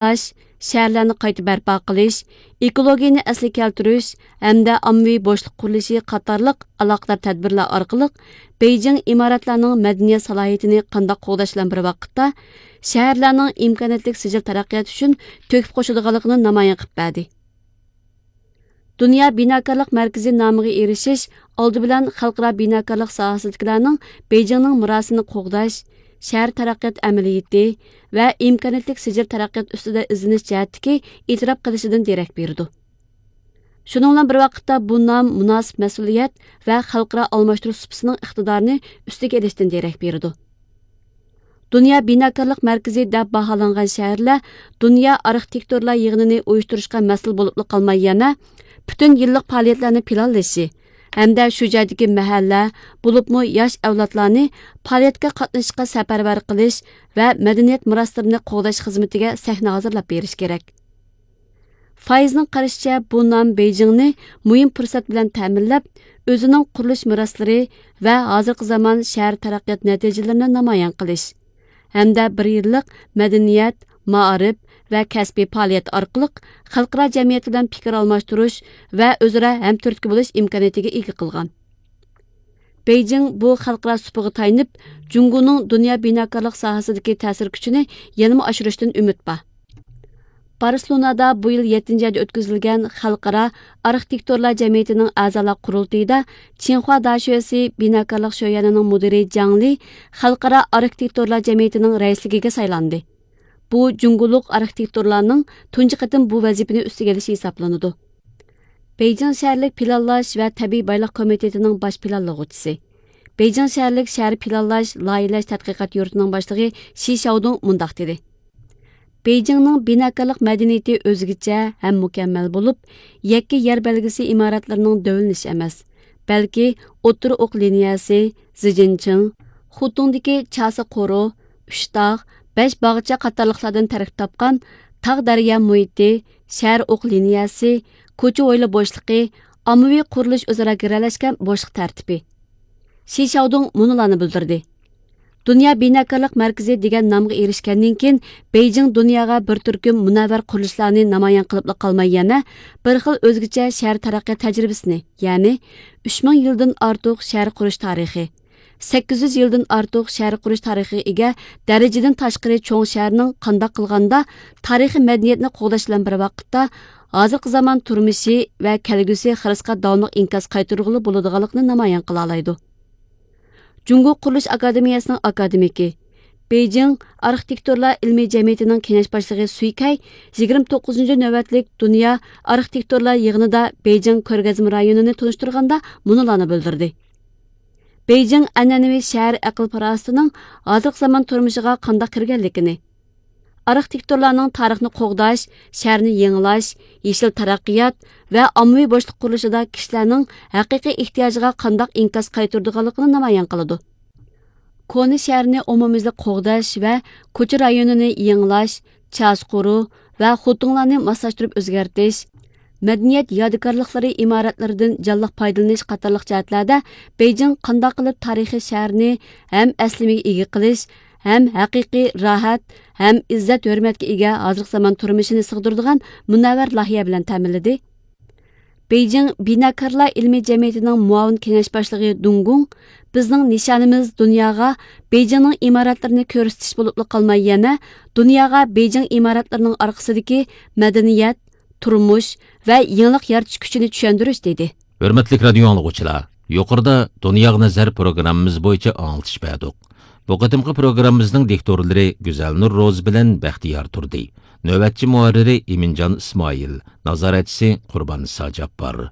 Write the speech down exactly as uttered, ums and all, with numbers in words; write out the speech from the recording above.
قوغداش، شەھەرلەرنى قايتا بەرپا قىلىش، ئېكولوگىيەنى ئەسلىگە كەلتۈرۈش ھەمدە ئاممىۋى بوشلۇق قۇرۇلۇشى قاتارلىق ئالاقىدار تەدبىرلەر ئارقىلىق بېيجىڭ ئىمارەتلەرنىڭ مەدەنىيەت سالاھىيىتىنى قانداق قوغداش بىلەن بىر ۋاقىتتا، شەھەرلەرنىڭ ئىمكانىيەتلىك سىجىل تەرەققىياتى ئۈچۈن تۆھپە قوشىدىغانلىقىنى نامايان قىلىپ بەردى. دۇنيا بىناكارلىق مەركىزى نامىغا ئېرىشىش ئالدى بىلەن خەلقئارا بىناكارلىق ساھەسىدىكىلەرنىڭ بېيجىڭنىڭ مىراسىنى قوغداش، شەھەر تەرەققىيات ئەمەلىيىتى ۋە ئىمكانىيەتلىك سىجىل تەرەققىيات ئۈستىدە ئىزدىنىش جەھەتتىكى ئېتىراپ قىلىشىدىن دېرەك بېرىدۇ. شۇنىڭ بىلەن بىر ۋاقىتتا، بۇ نام مۇناسىپ مەسئۇلىيەت ۋە خەلقئارا ئالماشتۇرۇش سۇپىسىنىڭ ئىقتىدارىنى ئۈستىگە ئېلىشتىن دېرەك بېرىدۇ. دۇنيا بىناكارلىق مەركىزى دەپ باھالانغان شەھەرلەر دۇنيا ئارخىتېكتورلار يىغىنىنى ئۇيۇشتۇرۇشقا مەسئۇل بولۇپلا قالماي، يەنە پۈتۈن يىللىق پائالىيەتلەرنى پىلانلىشى ھەمدە شۇ جايدىكى مەھەللە، بولۇپمۇ ياش ئەۋلادلارنى پائالىيەتكە قاتنىشىشقا سەپەرۋەر قىلىش ۋە مەدەنىيەت مىراسلىرىنى قوغداش خىزمىتىگە سەھنە ھازىرلاپ بېرىش كېرەك. فايزنىڭ قارىشىچە، بۇ نام بېيجىڭنى مۇھىم پۇرسەت بىلەن تەمىنلەپ، ئۆزىنىڭ قۇرۇلۇش مىراسلىرى ۋە ھازىرقى زامان شەھەر تەرەققىيات نەتىجىلىرىنى نامايان قىلىش ھەمدە بىر يىللىق مەدەنىيەت، مائارىپ ۋە كەسپىي پائالىيەت ئارقىلىق خەلقئارا جەمئىيەت بىلەن پىكىر ئالماشتۇرۇش ۋە ئۆزئارا ھەمتۈرتكە بولۇش ئىمكانىيىتىگە ئىگە قىلغان. بېيجىڭ بۇ خەلقئارا سۇپىغا تايىنىپ، جۇڭگونىڭ دۇنيا بىناكارلىق ساھەسىدىكى تەسىر كۈچىنى يەنىمۇ ئاشۇرۇشتىن ئۈمىد بار. بارسېلونادا بۇ يىل يەتتىنچى ئايدا ئۆتكۈزۈلگەن خەلقئارا ئارخىتېكتورلار جەمئىيىتىنىڭ ئەزالار قۇرۇلتىيىدا چىڭخۇا داشۆسى بىناكارلىق شۆيۈەنىنىڭ مۇدىرى جاڭ لى خەلقئارا ئارخىتېكتورلار جەمئىيىتىنىڭ رەئىسلىكىگە سايلاندى. بۇ جۇڭگولۇق ئارخىتېكتورلارنىڭ تۇنجى قېتىم بۇ ۋەزىپىنى ئۈستىگە ئېلىشى ھېسابلىنىدۇ. بېيجىڭ شەھەرلىك پىلانلاش ۋە تەبىئىي بايلىق كومىتېتىنىڭ باش پىلانلىغۇچىسى، بېيجىڭ شەھەرلىك شەھەر پىلانلاش، لايىھەلەش تەتقىقات يۇرتىنىڭ باشلىقى شى شياۋدۇڭ مۇنداق دېدى: بېيجىڭنىڭ بىناكارلىق مەدەنىيىتى ئۆزگىچە ھەم مۇكەممەل بولۇپ، يەككە يەر بەلگىسى ئىمارەتلىرىنىڭ دۆۋىلىنىشى ئەمەس، بەلكى ئوتتۇرا ئوق لىنىيەسى، زىجىنچىڭ، خۇتۇڭدىكى چاسا قورۇ، ئۈچ تاغ، بەش باغچە قاتارلىقلاردىن تەركىب تاپقان تاغ دەريا مۇھىتى، شەھەر ئوق لىنىيەسى، كوچا ھويلا بوشلۇقى، ئاممىۋى قۇرۇلۇش ئۆزئارا گىرەلەشكەن بوشلۇق تەرتىپى. شى شياۋدۇڭ مۇنۇلارنى بىلدۈردى: دۇنيا بىناكارلىق مەركىزى دېگەن نامغا ئېرىشكەندىن كېيىن، بېيجىڭ دۇنياغا بىر تۈركۈم مۇنەۋۋەر قۇرۇلۇشلارنى نامايان قىلىپلا قالماي، يەنە بىر خىل ئۆزگىچە شەھەر تەرەققىيات تەجرىبىسىنى، يەنى ئۈچ مىڭ يىلدىن ئارتۇق شەھەر قۇرۇش تارىخى، سەككىز يۈز يىلدىن ئارتۇق شەھەر قۇرۇش تارىخىغا ئىگە دەرىجىدىن تاشقىرى چوڭ شەھەرنىڭ قانداق قىلغاندا تارىخىي مەدەنىيەتنى قوغداش بىلەن بىر ۋاقىتتا، ھازىرقى زامان تۇرمۇشى ۋە كەلگۈسى خىرىسقا داۋاملىق ئىنكاس قايتۇرغىلى بولىدىغانلىقىنى نامايان قىلالايدۇ. جۇڭگو قۇرۇلۇش ئاكادېمىيەسىنىڭ ئاكادېمىكى، بېيجىڭ ئارخىتېكتورلار ئىلمىي جەمئىيىتىنىڭ كېڭەش باشلىقى سۈي كەي يىگىرمە توققۇزىنچى نۆۋەتلىك دۇنيا ئارخىتېكتورلار يىغىنىدا بېيجىڭ كۆرگەزمە رايونىنى تونۇشتۇرغاندا مۇنۇلارنى بىلدۈردى: بېيجىڭ ئەنئەنىۋى شەھەر ئەقىل-پاراسىتىنىڭ ھازىرقى زامان تۇرمۇشىغا قانداق كىرگەنلىكىنى، ئارخىتېكتورلارنىڭ تارىخنى قوغداش، شەھەرنى يېڭىلاش، يېشىل تەرەققىيات ۋە ئاممىۋى بوشلۇق قۇرۇلۇشىدا كىشىلەرنىڭ ھەقىقىي ئېھتىياجىغا قانداق ئىنكاس قايتۇرىدىغانلىقىنى نامايان قىلىدۇ. كونا شەھەرنى ئومۇميۈزلۈك قوغداش ۋە كوچا رايونىنى يېڭىلاش، چاسقۇرۇ ۋە خوتۇڭلارنى ماسلاشتۇرۇپ ئۆزگەرتىش، مەدەنىيەت يادىكارلىقلىرى ئىمارەتلىرىدىن جانلىق پايدىلىنىش قاتارلىق جەھەتلەردە بېيجىڭ قانداق قىلىپ تارىخىي شەھەرنى ھەم ئەسلىمىگە ئىگە قىلىش، ھەم ھەقىقىي راھەت، ھەم ئىززەت-ھۆرمەتكە ئىگە ھازىرقى زامان تۇرمۇشىنى سىغدۇرىدىغان مۇنەۋۋەر لايىھە بىلەن تەمىنلىدى. بېيجىڭ بىناكارلار ئىلمىي جەمئىيىتىنىڭ مۇئاۋىن كېڭەش باشلىقى دۇڭ گۇڭ، بىزنىڭ نىشانىمىز دۇنياغا بېيجىڭنىڭ ئىمارەتلىرىنى كۆرسىتىش بولۇپلا قالماي، يەنە دۇنياغا بېيجىڭ ئىمارەتلىرىنىڭ ئارقىسىدىكى مەدەنىيەت، تۇرمۇش ۋە يېڭىلىق يارىتىش كۈچىنى چۈشەندۈرۈش، دېدى. ھۆرمەتلىك رادىيو ئاڭلىغۇچىلار، يۇقىرىدا دۇنياغا نەزەر پروگراممىمىز بويىچە ئاڭلىتىش بەردۇق. بۇ قېتىمقى پروگراممىمىزنىڭ دىكتورلىرى گۈزەلنۇر روزى بىلەن بەختىيار تۇردى. نۆۋەتچى مۇھەررىرى ئىمىنجان ئىسمائىل، نازارەتچىسى قۇربان ئىسا جاپپار.